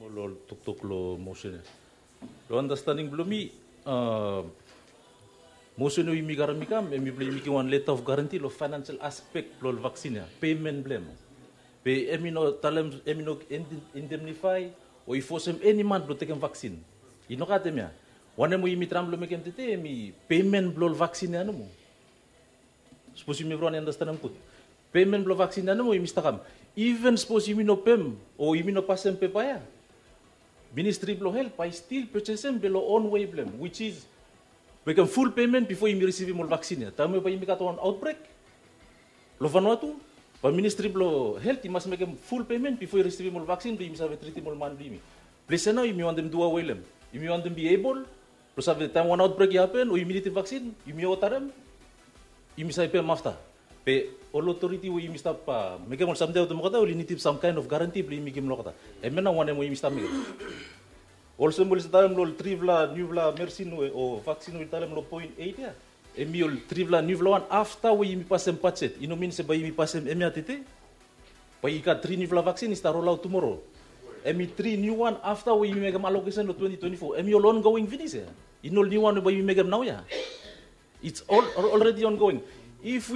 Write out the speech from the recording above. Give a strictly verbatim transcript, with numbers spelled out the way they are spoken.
Ol toktok lo motion ya. Lo understanding bilong mi, motion we yumi karim i kam, em i bilong yumi givim wan letter of guarantee lo financial aspect bilong ol vaccine ya, payment bilong em. Be em i no talem, em i no indemnify o i fosem eni man bilong tekem vaccine. I no gat em ya. Wanem we yumi traim bilong mekem tete em i payment bilong ol vaccine ya nomo. Sapos yumi evriwan i understand em gut. Payment bilong vaccine ya nomo yumi stakam. Even sapos yumi no pem o yumi no pasem pepa ya, Ministry bilong Health bai stil purchasem bilong own way bilong em, which is mekem full payment before yumi risivim ol vaccine ya. Taim we bai yumi gat wan outbreak lo Vanuatu, bai Ministry bilong Health i mas mekem full payment before i risivim ol vaccine bilong yumi save tritim ol man bilong yumi. Ples ya nau yumi wantem duawe long em. Yumi wantem be able lo save taim wan outbreak i happen o yumi nidim vaccine, yumi otarem, yumi save pem afta. Be ol authority we yumi stap mekem ol samting ya olgeta ol i nidim some kind of guarantee bilong yumi givim olgeta. Em ya nau wanem we yumi stap mekem. Olsem ol i talem long ol tripela niupela mersin we o vaksin we i talem long point eight ya, em i ol tripela niupela wan afta we yumi pasem bajet. I no min se bai yumi pasem em ya tete. Bai i gat tri niupela vaksin i stap rolaut tumora. Em i tri niu wan afta we yumi mekem alokesen long twenty twenty-four, em i ol ongoing pinis ya. I no ol niu wan we bai yumi mekem nau ya. It's already ongoing. If we